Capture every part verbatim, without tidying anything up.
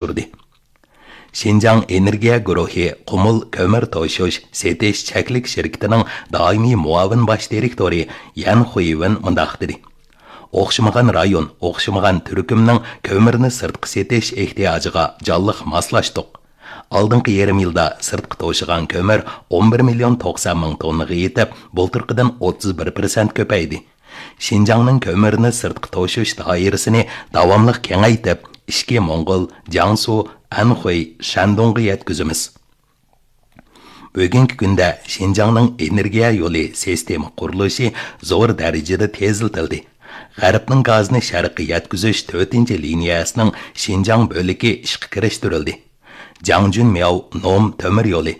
ئۇرغۇتتۇردى. شىنجاڭ ئېنېرگىيە گۇرۇھى قۇمۇل كۆمۈر توشۇش سېتىش چەكلىك شىركىتىنىڭ دائىمىي مۇئاۋىن باش دىرېكتورى يەن خۇيۋېن مۇنداق دېدى: ئوخشىمىغان رايون، ئوخشىمىغان تۈركۈمنىڭ كۆمۈرنى سىرتقا سېتىش ئېھتىياجىغا جانلىق ماسلاشتۇق. ئالدىنقى يېرىم يىلدا سىرتقا توشۇغان كۆمۈر ئون بىر مىليون توقسان مىڭ توننىغا يېتىپ، بۇلتۇرقىدىن ئوتتۇز بىر پىرسەنت كۆپەيدى. شىنجاڭنىڭ كۆمۈرنى سىرتقا توشۇش دائىرىسىنى داۋاملىق كېڭەيتىپ، ئىچكى موڭغۇل، جياڭسۇ، ئەنخۇي، شەندۇڭغا يەتكۈزىمىز. بۈگۈنكى كۈندە شىنجاڭنىڭ ئېنېرگىيە يولى سىستېما قۇرۇلۇشى زور دەرىجىدە تېزلىتىلدى. غەربنىڭ گازىنى شەرققە يەتكۈزۈش تۆتىنچى لىنىيەسىنىڭ شىنجاڭ بۆلىكى ئىشقا كىرىشتۈرۈلدى. جاڭجۈنمياۋ نوم تۆمۈر يولى،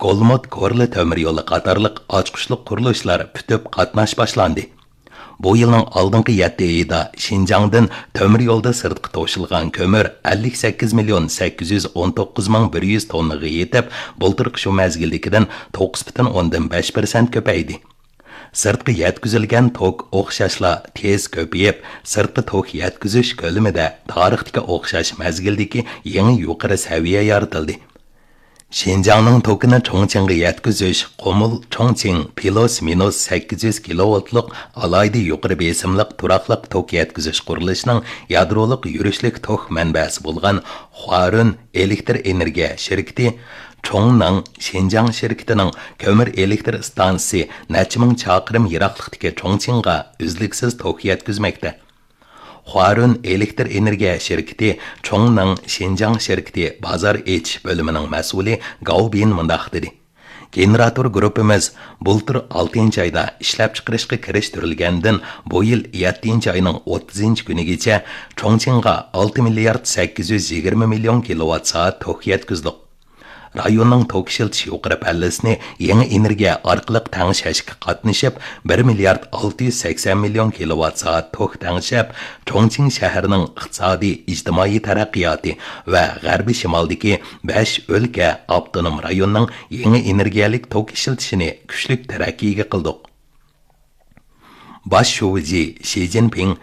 گولمۇت كورلا تۆمۈر يولى قاتارلىق ئاچقۇچلۇق قۇرۇلۇشلار پۈتۈپ قاتناش باشلاندى. بۇ يىلنىڭ ئالدىنقى يەتتە ئېيىدا شىنجاڭدىن تۆمۈر يولدا سىرتقا توشۇلغان كۆمۈر ئەللىك سەككىز مىليون سەككىز يۈز ئون توققۇز مىڭ بىر يۈز توننىغا يېتىپ، بۇلتۇرقى شۇ مەزگىلدىكىدىن توققۇز پۈتۈن ئوندىن بەش پىرسەنت كۆپەيدى. سىرتقا يەتكۈزۈلگەن توك ئوخشاشلا تېز كۆپىيىپ، سىرتقا توك يەتكۈزۈش كۆلىمىدە تارىختىكى ئوخشاش مەزگىلدىكى يېڭى يۇقىرى سەۋىيە يارىتىلدى. شىنجاڭنىڭ توكىنى چۇڭچىڭغا يەتكۈزۈش قۇمۇل چۇڭچىڭ پىلوس مىنۇس سەككىز يۈز كىلوۋولتلۇق ئالاھىدە يۇقىرى بېسىملىق تۇراقلىق توك يەتكۈزۈش قۇرۇلۇشىنىڭ يادرولۇق يۈرۈشلۈك توك مەنبەسى بولغان خۇارۈن ئېلېكتر ئېنېرگىيە شىركىتى چۇڭنىڭ شىنجاڭ شىركىتىنىڭ كۆمۈر ئېلېكتر ئىستانسىسى نەچچە مىڭ چاقىرىم يىراقلىقتىكى چۇڭچىڭغا ئۈزلۈكسىز توك يەتكۈزمەكتە. خۇارۈن ئېلېكتر ئېنېرگىيە شىركىتى چۇڭنىڭ شىنجاڭ شىركىتى بازار ئېچىش بۆلۈمىنىڭ مەسئۇلى گاۋ بىن مۇنداق دېدى: گېنېراتور گۇرۇپپىمىز بۇلتۇر ئالتىنچى ئايدا ئىشلەپچىقىرىشقا كىرىشتۈرۈلگەندىن بۇ يىل يەتتىنچى ئاينىڭ ئوتتۇزىنچى كۈنىگىچە چۇڭچىڭغا ئالتە مىليارد سەككىز يۈز يىگىرمە مىليون كىلوۋات سائەت توك يەتكۈزدۇق. رايوننىڭ توك ئىشلىتىش يۇقىرى پەللىسىنى يېڭى ئېنېرگىيە ئارقىلىق تەڭشەشكە قاتنىشىپ، بىر مىليارد ئالتە يۈز سەكسەن مىليون كىلوۋات سائەت توك تەڭشەپ، چۇڭچىڭ شەھىرىنىڭ ئىقتىسادىي، ئىجتىمائىي تەرەققىياتى ۋە غەربىي شىمالدىكى بەش ئۆلكە ئاپتونوم رايوننىڭ يېڭى ئېنېرگىيەلىك توك ئىشلىتىشىنى كۈچلۈك تەرەققىيگە قىلدۇق. باش شۇجى شى جىنپىڭ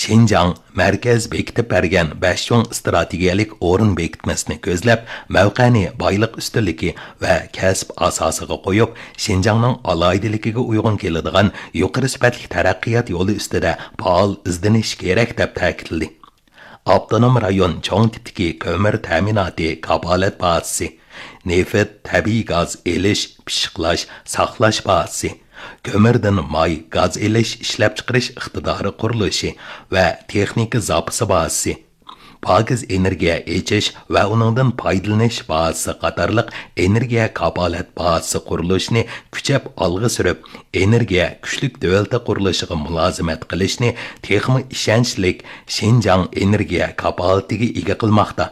شىنجاڭ مەركەز بېكىتىپ بەرگەن بەش چوڭ ئىستراتېگىيەلىك ئورۇن بېكىتمىسىنى كۆزلەپ، مەۋقەنى بايلىق ئۈستۈنلۈكى ۋە كەسىپ ئاساسىغا قويۇپ، شىنجاڭنىڭ ئالاھىدىلىكىگە ئۇيغۇن كېلىدىغان يۇقىرى سۈپەتلىك تەرەققىيات يولى ئۈستىدە پائال ئىزدىنىش كېرەك، دەپ تەكىتلىدى. ئاپتونوم رايون چوڭ تىپتىكى كۆمۈر تەمىناتى كاپالەت بازىسى، نېفىت، تەبىئىي گاز ئېلىش، پىششىقلاش، ساقلاش بازىسى، كۆمۈردىن ماي، گاز ئېلىش، ئىشلەپچىقىرىش ئىقتىدارى قۇرۇلۇشى ۋە تېخنىكا زاپىسى بازىسى، پاكىز ئېنېرگىيە ئېچىش ۋە ئۇنىڭدىن پايدىلىنىش بازىسى قاتارلىق ئېنېرگىيە كاپالەت بازىسى قۇرۇلۇشىنى كۈچەپ ئالغا سۈرۈپ، ئېنېرگىيە كۈچلۈك دۆلىتى قۇرۇلۇشىغا مۇلازىمەت قىلىشنى تېخىمۇ ئىشەنچلىك شىنجاڭ ئېنېرگىيە كاپالىتىگە ئىگە قىلماقتا.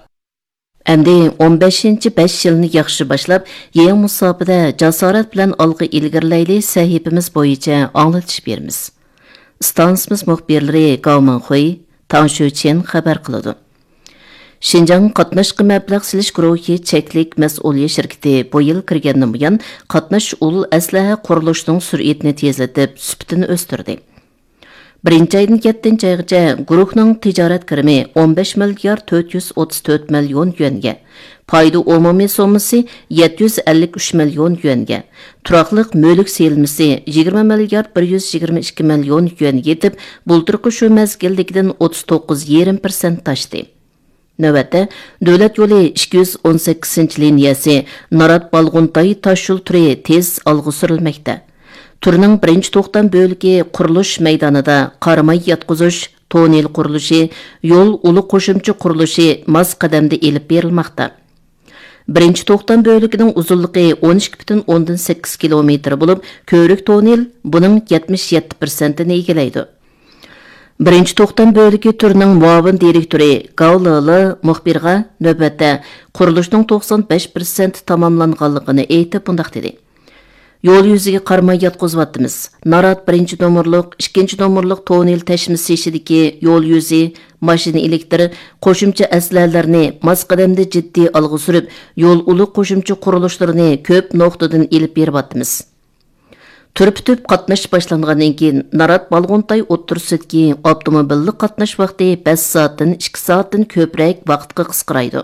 ئەمدى ئون بەشىنچى بەش يىلنى ياخشى باشلاپ، يېڭى مۇساپىدە جاسارەت بىلەن ئالغا ئىلگىرىلەيلى سەھىپىمىز بويىچە ئاڭلىتىش بېرىمىز. ئىستانسىمىز مۇخبىرلىرى گاۋ مىڭخۇي، تاڭ شۈچېن خەۋەر قىلىدۇ. شىنجاڭ قاتناشقا مەبلەغ سېلىش گۇرۇھى چەكلىك مەسئۇلىيەت شىركىتى بۇ يىل كىرگەندىن بۇيان قاتناش ئۇل ئەسلىھە قۇرۇلۇشىنىڭ سۈرئىتىنى تېزلىتىپ، سۈپىتىنى ئۆستۈردى. بىرىنچى ئايدىن يەتتىنچى ئايغىچە گۇرۇھنىڭ تىجارەت كىرىمى ئون بەش مىليارد تۆت يۈز ئوتتۇز تۆت مىليون يۈەنگە، پايدا ئومۇمىي سوممىسى يەتتە يۈز ئەللىك ئۈچ مىليون يۈەنگە، تۇراقلىق مۈلۈك سېلىنمىسى يىگىرمە مىليارد بىر يۈز يىگىرمە ئىككى مىليون يۈەنگە يېتىپ، بۇلتۇرقى شۇ مەزگىلدىكىدىن ئوتتۇز توققۇز يېرىم پىرسەنت ئاشتى. نۆۋەتتە، دۆلەت يولى ئىككى يۈز ئون سەككىزىنچى لىنىيەسى نارات بالغۇنتاي تاشيول تۈرى تېز ئالغا سۈرۈلمەكتە. تۈرنىڭ بىرىنچى توختام بۆلىكى قۇرۇلۇش مەيدانىدا قاراماي ياتقۇزۇش، توننېل قۇرۇلۇشى، يول ئۇلى قوشۇمچە قۇرۇلۇشى ماس قەدەمدە ئېلىپ بېرىلماقتا. بىرىنچى توختام بۆلىكىنىڭ ئۇزۇنلۇقى ئون ئىككى پۈتۈن ئوندىن سەككىز كىلومېتىر بولۇپ، كۆۋرۈك توننېل بۇنىڭ يەتمىش يەتتە پىرسەنتىنى ئىگىلەيدۇ. بىرىنچى توختام بۆلىكى تۈرىنىڭ مۇئاۋىن دىرېكتورى گاۋ لېلې مۇخبىرغا نۆۋەتتە قۇرۇلۇشنىڭ توقسان بەش پىرسەنت تاماملانغانلىقىنى ئېيتىپ، مۇنداق دېدى: يول يۈزىگە قارىماي ياتقۇزۇۋاتىمىز. نارات بىرىنچى نومۇرلۇق، ئىككىنچى نومۇرلۇق توننېل تەشمىسى ئىچىدىكى يول يۈزى، ماشىنا ئېلېكتىر، قوشۇمچە ئەسلىھەلەرنى ماس قەدەمدە جىددىي ئالغا سۈرۈپ، يول ئۇلى قوشۇمچە قۇرۇلۇشلىرىنى كۆپ نۇقتىدىن ئېلىپ بېرىۋاتىمىز. تۈر پۈتۈپ قاتناش باشلانغاندىن كېيىن، نارات بالغۇنتاي ئوتتۇرىسىدىكى ئاپتوموبىللىق قاتناش ۋاقتى بەش سائەتتىن ئىككى سائەتتىن كۆپرەك ۋاقىتقا قىسقىرايدۇ.